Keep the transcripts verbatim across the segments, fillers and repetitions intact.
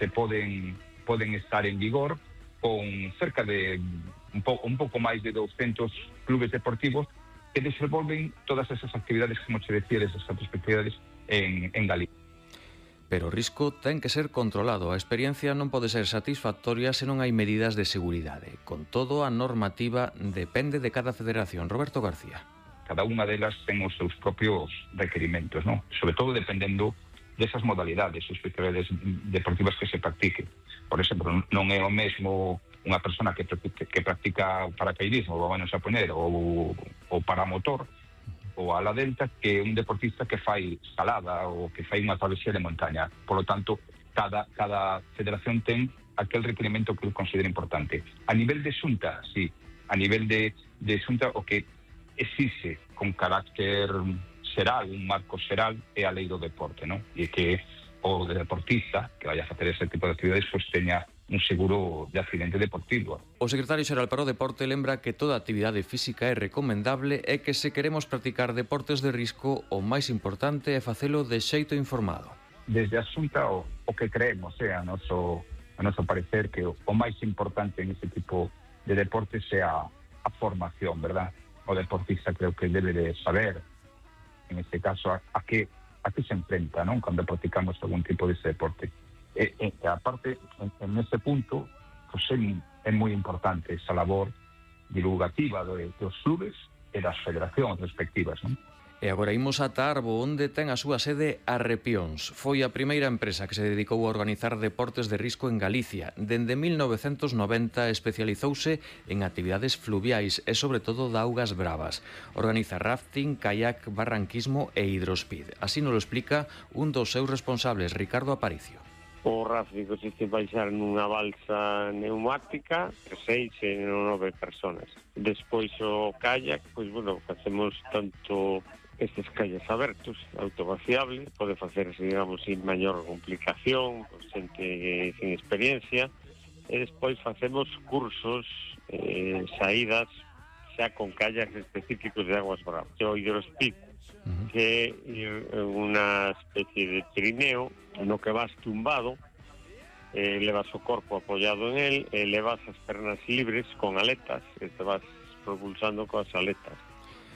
se poden, poden estar en vigor con cerca de un, po, un pouco máis de doscientos clubes deportivos que desenvolven todas esas actividades, como se decía, esas actividades en, en Galicia. Pero o risco ten que ser controlado. A experiencia non pode ser satisfactoria se non hai medidas de seguridade. Con todo, a normativa depende de cada federación. Roberto García. Cada unha delas ten os seus propios requerimentos, ¿no? Sobre todo dependendo desas modalidades, as actividades deportivas que se practiquen. Por exemplo, non é o mesmo unha persona que practica, que practica paracaidismo, vamos a poner, ou, ou paramotor, ou ala delta, que un deportista que fai escalada ou que fai unha travesía de montaña. Por lo tanto, cada, cada federación ten aquel requerimento que considera importante. A nivel de xunta, sí, a nivel de, de xunta, o que exixe con carácter xeral, un marco xeral, é a lei do deporte, non? E que o deportista que vaya a facer ese tipo de actividades pues teña un seguro de accidente deportivo. O secretario xeral para o deporte lembra que toda actividade física é recomendable e que se queremos practicar deportes de risco, o máis importante é facelo de xeito informado. Desde a Xunta o, o que creemos, é a noso, a noso parecer, que o, o máis importante en ese tipo de deportes é a, a formación, verdad? O deportista creo que debe de saber, en este caso, a, a que a que se enfrenta, non? Cando practicamos algún tipo de ese deporte. E, e aparte, en, en ese punto, pues é, é moi importante esa labor divulgativa de, dos clubes e das federacións respectivas, non? E agora imos a Arbo, onde ten a súa sede Arrepións. Foi a primeira empresa que se dedicou a organizar deportes de risco en Galicia. Dende mil novecentos noventa especializouse en actividades fluviais e sobre todo de augas bravas. Organiza rafting, kayak, barranquismo e hidrospeed. Así nos lo explica un dos seus responsables, Ricardo Aparicio. O rafting consiste en baixar nunha balsa neumática seis e nove personas. Despois o kayak, pois, bueno, facemos tanto estes calles abertos, autovaciable, pode facerse, digamos, sin maior complicación, con xente sin experiencia, e despois facemos cursos, eh, saídas, xa con kayaks específicos de aguas bravas. O hidrospeed, uh-huh. que é unha especie de trineo no que vas tumbado, eh, levas o corpo apoiado en él, e levas as pernas libres con aletas, e te vas propulsando coas aletas.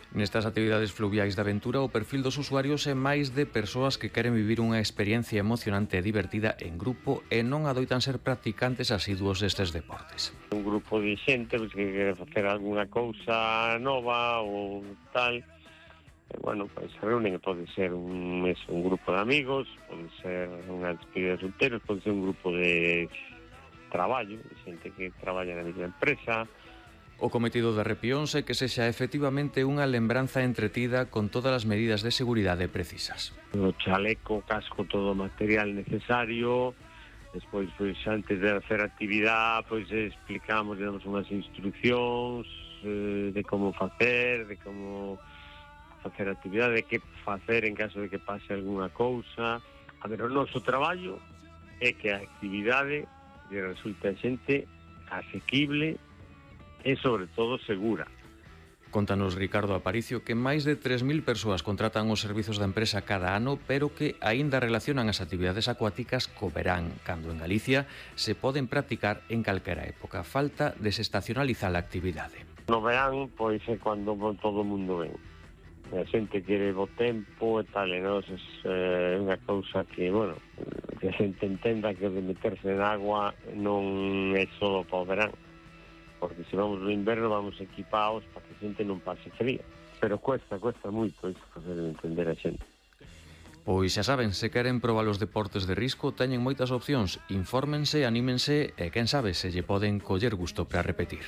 Nestas actividades fluviais de aventura, o perfil dos usuarios é máis de persoas que queren vivir unha experiencia emocionante e divertida en grupo e non adoitan ser practicantes asiduos destes deportes. Un grupo de xente pues, que quere facer alguna cousa nova ou tal, e, bueno, pues, se reúnen, pode ser un, es, un grupo de amigos, pode ser unha despedida de solteros, pode ser un grupo de traballo, de xente que traballa na mesma empresa. O cometido de Arrepións é que sexa efectivamente unha lembranza entretida con todas as medidas de seguridade precisas. O chaleco, casco, todo o material necesario. Despois, pois, antes de hacer actividade, pois explicamos, damos unhas instruccións eh, de como facer, de como facer actividade, de que facer en caso de que pase algunha cousa. A ver, o noso traballo é que a actividade lle resulte a xente asequible e, sobre todo, segura. Contanos Ricardo Aparicio que máis de tres mil persoas contratan os servizos da empresa cada ano, pero que aínda relacionan as actividades acuáticas co verán, cando en Galicia se poden practicar en calquera época. Falta desestacionalizar a actividade. No verán, pois, é cando todo o mundo ven. A xente quere bo tempo e tal, e nos é unha cousa que, bueno, que a xente entenda que o de meterse en agua non é só para o verán, porque se vamos no inverno vamos equipados para que a xente non pase frío, pero cuesta, cuesta moito iso facer entender a xente. Pois xa saben, se queren probar os deportes de risco, teñen moitas opcións, infórmense, anímense e quen sabe se lle poden coller gusto para repetir.